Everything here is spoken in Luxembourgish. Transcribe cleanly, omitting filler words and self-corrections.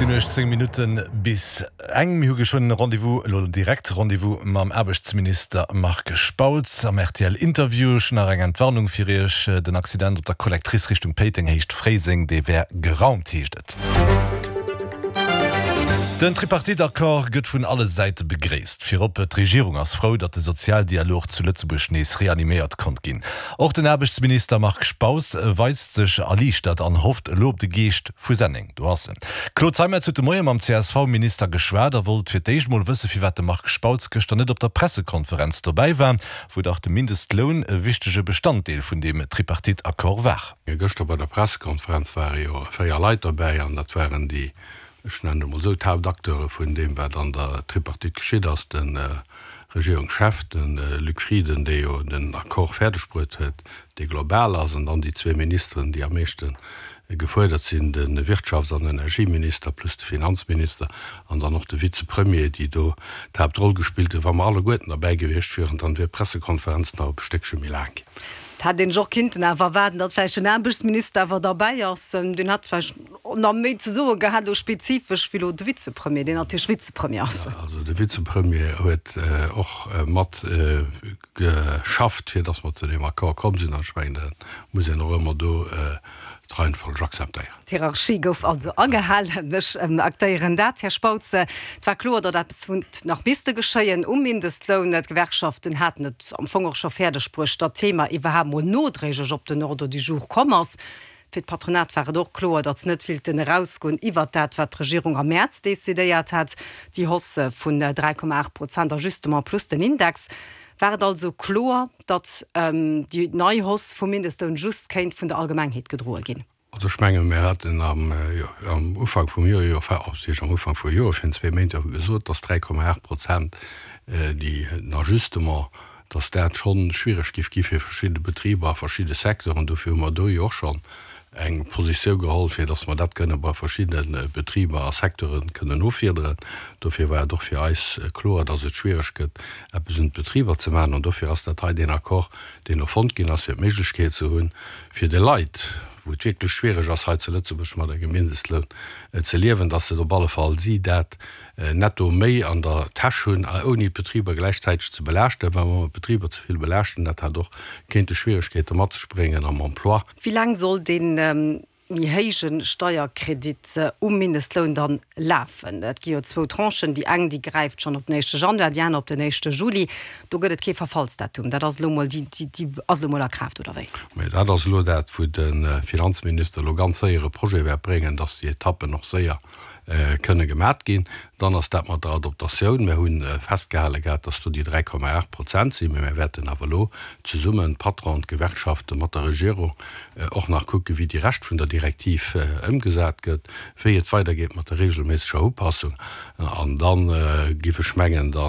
Sinn 18 Minutte bis eng. Mir hu geschwënn e Rendez-vous, elo direkt Rendez-vous mam Aarbechtsminister Marc Spautz am RTL-Interview. Ech hunn nach eng Entwarnung fir Iech, Den Accident op der Collectrice Richtung Péiteng, Héicht Fréiseng, dee wär geraumt, heescht et. Den Tripartite-Accord gëtt vun alle Säite begréisst. Virop d'Regierung ass frou, datt de Sozialdialog zu Lëtzebuerg nees reaniméiert konnt ginn. Och den Aarbechtsminister Marc Spautz weist sech erliichtert an hofft elo op de Geescht vu Senneng. Do ass en. D'Claude Zeimetz huet de Moie mam CSV-Minister geschwat a wollt fir d'éischt mol wësse firwat de Marc Spautz gëschter net op der Pressekonferenz dobäi war, wou dach de Mindestloun e wichtege Bestanddeel vun deem Tripartite-Accord war. Gëschter bei der Pressekonferenz ware jo 4 Leit derbäi an dat waren déi, ech nennen et emol esou, d'Haaptacteure vun deem, wat an der Tripartite geschitt ass, de Regierungschef, de Luc Frieden, dee jo den Accord fäerdeg bruet huet, dee global ass, an dann déi zwee Ministeren, déi am meeschte gefuerdert sinn, de Wirtschafts an Energieminister plus de Finanzminister an dann och de Vizepremier, déi do d'Haaptroll gespillt hunn. Wa mer alleguerten derbäi gewiescht wieren, dann wier d'Pressekonferenz nach e Stéckche méi laang ginn. Et hätt een sech och kinnten awer erwaarden, datt vläicht den Aarbechtsminister awer derbäi ass. Deen hätt vläicht nach méi ze soe gehat, elo spezifesch, wéi elo de Vizepremier, deen natierlech Vizepremier ass. Also de Vizepremier huet och mat geschafft, fir datt mer zu deem Accord komm sinn. An ech mengen, dat muss een och ëmmer do d'Reihenfolg akzeptéieren. D'Hierarchie gouf also agehalen. Ech aktéieren dat, Här Spautz. Et war kloer, datt eppes huet nach misste geschéien um Mindestloun. D'Gewerkschaften haten et am Fong och scho fäerdeg bruecht, datt d'Thema iwwerhaapt mol nodréiglech op den Ordre du jour komm ass. Fir d'Patronat war et och kloer, datt se net willten erausgoen iwwert dat, wat d'Regierung am Mäerz decidéiert hat, déi Hausse vun 3,8 Prozent Ajustement plus den Index. War et also kloer, datt déi nei Hausse vum Mindestloun just kéint vun der Allgemengheet gedroe ginn? Also ech menge mir haten am Ufank vum Joer jo, am Ufank vum Joer, virun zwee Méint jo gesot, datt 3,8 Prozent déi den Ajustement, datt dat scho schwiereg géif gi fir verschidde Betriber a verschidde Secteuren. Dofir hu mer do jo och schonn eng Positioun geholl, fir datt mer dat kënne bei verschidde Betriber a Secteure kënnen offiederen. Dofir war et och fir eis kloer, datt et schwiereg gëtt, eppes un d'Betriber ze maachen. An dofir ass dat hei deen Accord, deen elo fonnt ginn ass, fir d'Méiglechkeet ze hunn, fir de Leit, wou et wierklech schwiereg ass hei zu Lëtzebuerg mat engem Mindestloun ze liewen, datt se op alle Fall si dat netto méi an der Täsch hunn, ouni d'Betriber gläichzäiteg ze belaaschten. Well wa mer d'Betriber ze vill belaaschten, dat hat och kéinte Schwieregkeete mat sech bréngen am Emploi. Wéi laang soll dee méi héije Steierkredit um Mindestloun dann lafen? Et gi jo zwou Tranchen, déi eng, déi gräift schonn op den éischte Januar, déi aner op den éischte Juli. Do gëtt et kee Verfallsdatum. Dat ass elo mol, déi, déi ass elo mol a Kraaft, oder wéi? Mä dat ass elo dat, wou de Finanzminister elo ganz séier e Projet wäert bréngen, dass déi Etappen och séier kënne gemat ginn. Dann ass dat mat der Adoptatioun. Mir hu festgehale gehat, dass do déi 3,8 Prozent sinn, mä mir wäerten awer elo zesummen, d'Patronen, d'Gewerkschaften, mat der Regierung och nach kucken, wéi déi Rescht vun der Direktiv ëmgesat gëtt, wéi et weidergeet mat der regelméisseger Upassung. An da giff ech mengen, da.